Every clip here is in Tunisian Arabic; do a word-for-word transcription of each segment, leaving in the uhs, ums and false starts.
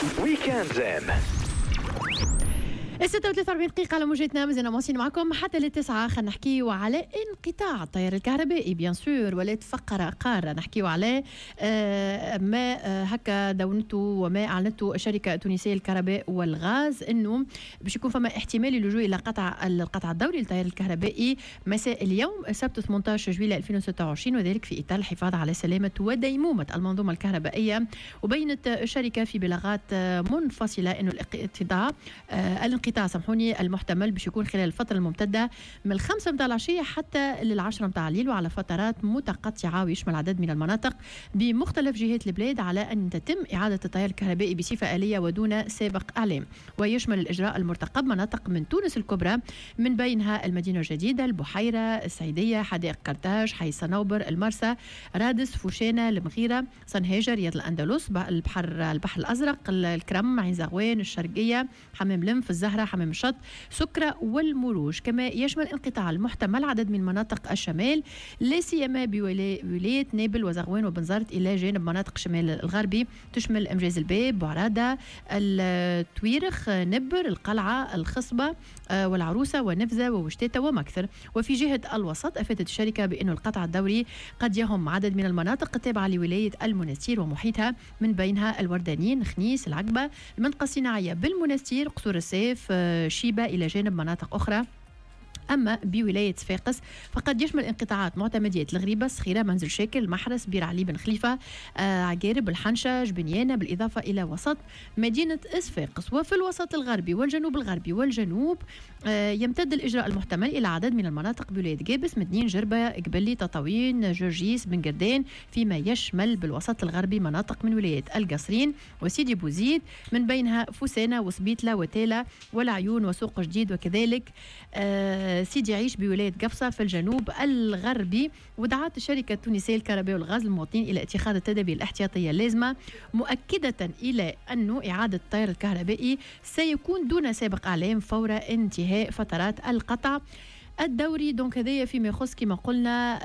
Week-end Zen. الستة وثلاثة وأربعين دقيقة على موجتنا، مازلنا مواصلين معكم حتى للتسعة. خلينا نحكيو على انقطاع التيار الكهربائي، bien sûr ولات فقرة قارة نحكيو على آه، ما آه، هكا دونته وما أعلنته الشركة التونسية للكهرباء والغاز، انه باش يكون فما احتمال اللجوء الى قطع القطع الدوري للتيار الكهربائي مساء اليوم السبت ثمانية عشر جويلية ألفين وستة وعشرين، وذلك في اطار الحفاظ على سلامة وديمومة المنظومة الكهربائية. وبينت الشركة في بلاغات منفصلة انه الانقطاع آه، الانقطاع سامحوني المحتمل باش يكون خلال الفترة الممتدة من الخمسة متاع العشية حتى للعشرة متاع الليل وعلى فترات متقطعة، ويشمل عدد من المناطق بمختلف جهات البلاد، على أن تتم إعادة التيار الكهربائي بصفة آلية ودون سابق إعلام. ويشمل الإجراء المرتقب مناطق من تونس الكبرى، من بينها المدينة الجديدة، البحيرة، السعيدية، حدائق قرطاج، حي صنوبر، المرسى، رادس، فوشانة، المغيرة، صنهاجة، رياض الأندلس، البحر البحر الأزرق، الكرم، عين زغوان، الشرقية، حمام لنف، الزهرة، حمام الشط، سكرة والمروج. كما يشمل انقطاع المحتمل عدد من مناطق الشمال، لا سيما بولاية نابل وزغوان وبنزرت، إلى جانب مناطق الشمال الغربي تشمل أمجاز الباب، بوعرادة، الطويرخ، نبر، القلعة، الخصبة آه، والعروسة ونفزة ووشتاتة ومكثر. وفي جهة الوسط، أفادت الشركة بأن القطع الدوري قد يهم عدد من المناطق التابعة لولاية المنستير ومحيطها، من بينها الوردانين، خنيس، العقبة، المنطقة الصناعية بالمنستير، قصور الساف، آه، شيبة، إلى جانب مناطق أخرى. أما بولاية صفاقس فقد يشمل انقطاعات معتمديات الغريبة، الصخيرة، منزل شاكر، المحرس، بير علي بن خليفة، آه عقارب، الحنشة، جبنيانة، بالإضافة إلى وسط مدينة صفاقس. وفي الوسط الغربي والجنوب الغربي والجنوب آه يمتد الإجراء المحتمل إلى عدد من المناطق بولاية قابس، مدنين، جربة، قبلي، تطاوين، جرجيس، بن قردان، فيما يشمل بالوسط الغربي مناطق من ولايات القصرين وسيدي بوزيد، من بينها فوسانة وسبيتلة وتالة والعيون وسوق جديد، وكذلك آه سيدي عيش بولاية قفصة في الجنوب الغربي. ودعت الشركة التونسية للكهرباء والغاز المواطنين إلى اتخاذ التدابير الاحتياطية اللازمة، مؤكدة إلى أنه إعادة التيار الكهربائي سيكون دون سابق إعلام فور انتهاء فترات القطع الدوري. donc هذايا فيما يخص كما قلنا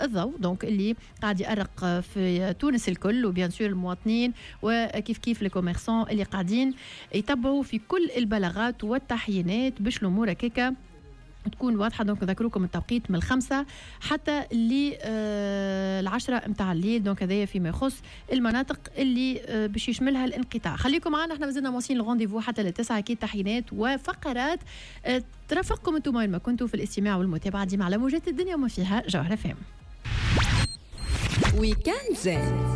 الضوء، donc اللي قاعد يأرق في تونس الكل، و bien sûr المواطنين وكيف كيف les commerçants اللي قاعدين يتبعوا في كل البلاغات والتحيينات باش الامور هكاكا تكون واضحه. donc نذكركم التوقيت من الخمسة حتى للعشرة متاع الليل. donc هذايا فيما يخص المناطق اللي آه، باش يشملها الانقطاع. خليكم معنا، احنا مازلنا مواصلين ال rendez-vous حتى للتسعة، اكيد تحيينات وفقرات آه، ترافقكم انتم وين ما كنتوا في الاستماع والمتابعة ديما على موجات الدنيا وما فيها، جوهرة أف أم. Week-end Zen.